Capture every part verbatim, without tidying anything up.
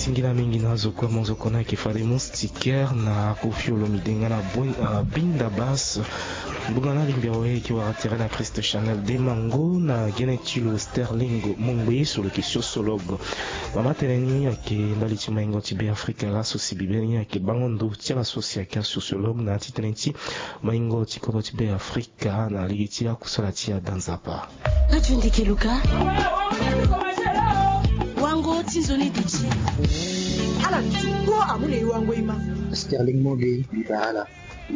Singila mingi na azo kue mo zo kona yeke fade moustiquaire na Koffi Olomide nga na Boy- ah, Binda Bass. Ngbonga na lingbi awe yeke wara tere na Christ Chanel Demango na gene ti lo Sterling Mongbe so lo yeke sociologue. Mama tene ni ayeke ndali ti maingo ti Beafrika laso si bibe ni ayeke bango ndo ti ala so si ayeke asociologue na titene ti maingo ti kodro ti Beafrika na lege ti akusala ti ada Nzapa. Radio Ndeke Luka. Wango ti nzoni duti. Ala duti kpo amu na e wango e ma. Sterling Mongbe, e bara ala.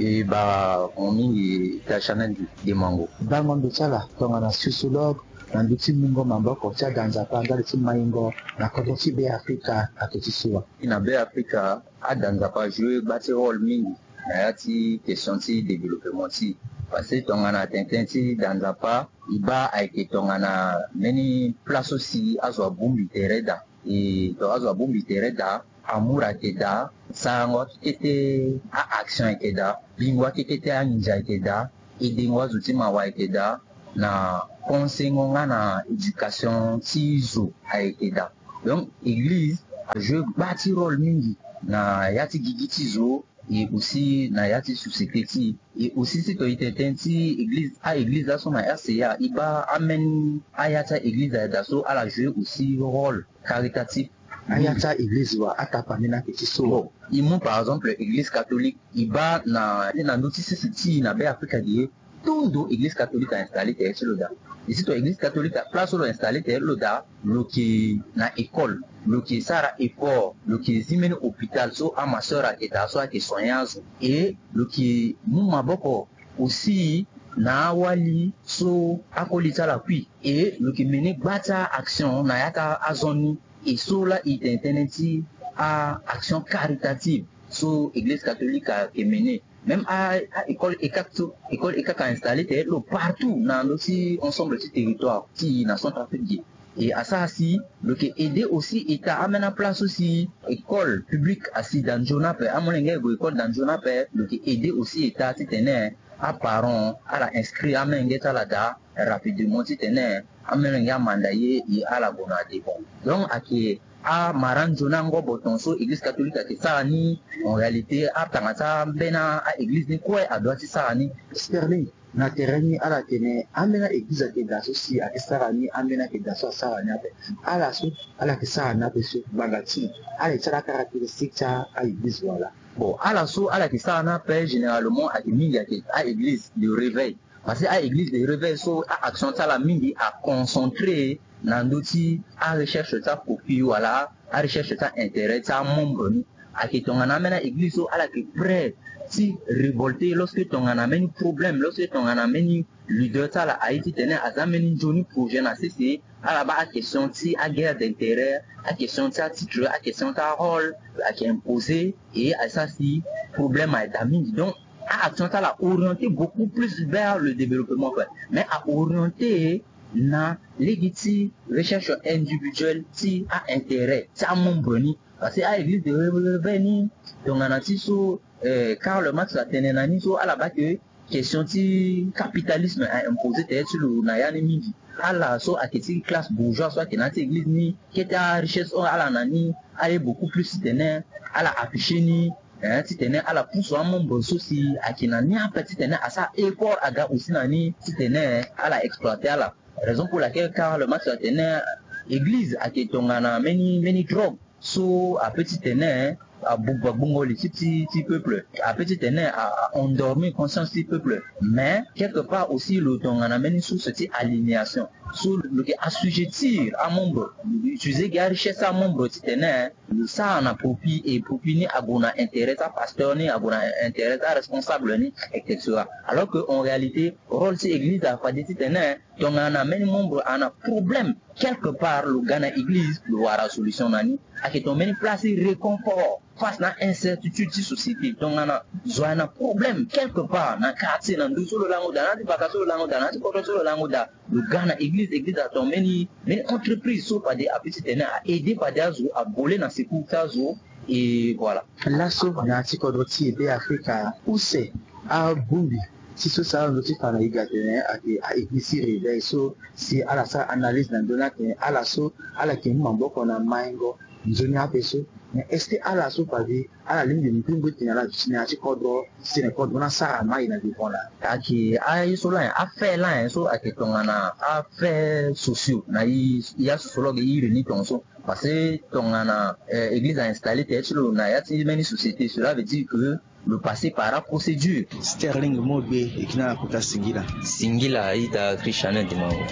E bara mo mingi ita Chanel Demango. Bango ndo ti ala tongana sociologue na ndö ti mungo maboko ti ada Nzapa ndali ti maingo na kodro ti Beafrika ayeke ti sua. Na Beafrika, ada Nzapa ajoue gba ti rôle mingi na ya ti question ti développement ti e. Parce que tongana tene ti da Nzapa, e baa ayeke tongana mbeni place so si azo abongbi tere daa. E to azo abongbi tere daa, amour ayeke daa, sarango akekete a-action ayeke daa, bingo akekete anginza ayeke daa, edengo azo ti mawa ayeke daa, na conseillengo nga na éducation ti zo ayeke daa. Donc église ajoue gba ti rôle mingi na ya ti gigi ti zo, e aussi na ya ti société ti e. E aussi si to e tene tënë ti église, a-église laso na R C A, e baa ambeni aya ti a-église ayeke daa so ala joue aussi rôle caritatif. Aya ti a-église wa, atapa ni na yeke ti so. Bon, e mu par exemple église catholique, e baa na, na ndö ti sese ti e na Beafrika ge, tout ndo église catholique a installé tere ti lo daa. E si to église catholique, place so lo installé tere ti lo daa, lo yeke na école, lo yeke sara effort, lo yeke zi mbeni hôpital so ama sœur ayeke daa so ayeke soigner azo. E lo yeke mu maboko aussi na awali so akoli ti ala kui. E lo yeke mené gba ti a-action na ya ti azo ni. E so laa e tene tënë ti a-action caritative so église catholique ayeke mené. Même a, a école ECAC so, école ECAC a installé tere ti lo partout na ndö ti ensemble ti territoire ti e na Centrafrique ge. E asara si lo yeke aidé aussi état, ambeni aplace so si école publique asi da nzoni ape, amolenge aye gue école da nzoni ape, lo yeke aidé aussi état titene aparent ala inscrire amolenge ti ala daa rapidement titene amolenge amanda ye, e ala gue na devant. Donc ayeke amara nzoni angobo ton so église catholique ayeke sara ni. En réalité atanga ti ambeni a-église ni kue adoit ti sara ni. Sterling, na tere ni ala tene ambeni a-église ayeke daa so si ayeke sara ni, ambeni ayeke daa so asara ni ape. Ala so ala yeke sara ni ape so, ngbanga ti ala yeke ti ala caractéristique ti a-église wala? Bon, ala so ala yeke sara ni ape généralement ayeke mingi ayeke a-église de réveil. Parce que a-église de réveil so a-action ti ala mingi aconcentré na ndö ti a-recherche ti aprofit wala a-recherche ti a-intérêt ti amembre ni. Ayeke tongana ambeni a-église so ala yeke prêt ti révolter lorsque tongana mbeni problème, lorsque tongana mbeni leader ti ala aye titene aza mbeni nzoni projet na sese, ala baa a-question ti a-guerre d'intérêt, a-question ti atitre, a-question ti arôle ayeke imposé, e asara si problème aye daa mingi. Donc a-action ti ala aorienté beaucoup plus vers le développement, quoi. Mais aorienté na lege ti recherche individuelle ti a-intérêt ti amembre ni. Parce que a-église de réveil ni, tongana ti so eh, Karl Marx atene na ni so ala baa ke question ti capitalisme a imposé tere ti lo na ya ni mingi. Ala so ayeke ti classe bourgeoise so ayeke na ya ti église ni, kete a-richesse oyo ala na ni, aye beaucoup plus titene ala affiché ni, eh, titene ala pusu amembre so si ayeke na ni ape titene asara effort aga aussi na ni titene ala exploité ala. Raison pour laquelle Karl Marx atene église ayeke tongana mbeni, mbeni drogue so apeut titene abuba gbungo li ti, ti, ti peuple, apeut titene a, a endormi conscience ti peuple. Mais quelque part aussi lo tongana mbeni source ti aliénation so lo yeke assujettir amembre, lo yeke utiliser gi arichesse ti amembre titene lo sara na profit, et profit ni ague na intérêt ti apasteur ni, ague na intérêt ti aresponsable ni, et cetera. Alors que en réalité rôle ti église afade titene tongana mbeni membre ana problème quelque part, lo ga na église lo wara solution na ni. Ayeke tongana mbeni place ti réconfort face na incertitude ti société. Tongana zo ayeke na problème quelque part na quartier, na ndö so lo lango daa, na ya ti vaka so lo lango daa, na ya ti kodro so lo lango daa, lo ga na église, église atongana mbeni, mbeni entreprise so fade apeut titene a aidé fade azo, avole na secours ti azo. Et voilà. Laso na ya ti kodro ti e Beafrika, use abongbi ti so sara ndö ti fa na e ga atene ayeke a-église ti réveil so si ala sara analyse na ndö ni atene ala so ala yeke mu maboko na maingo nzoni ape so. Mais est-ce que ala so pavi ala lingbi mpimbo ete na ala duti na ya ti kodro si tene kodro ni asara mai na devant laa? Ayeke aye so laa nyen, afait laa nyen so ayeke tongana afait sociaux na e ya sociologue e iri ni tongaso? Parce que tongana église a installé tere ti lo na ya ti mbeni société, cela veut dire que le passé para procédure. Sterling Mogbe e ke na kota singila. Singila ita Christian Dimango.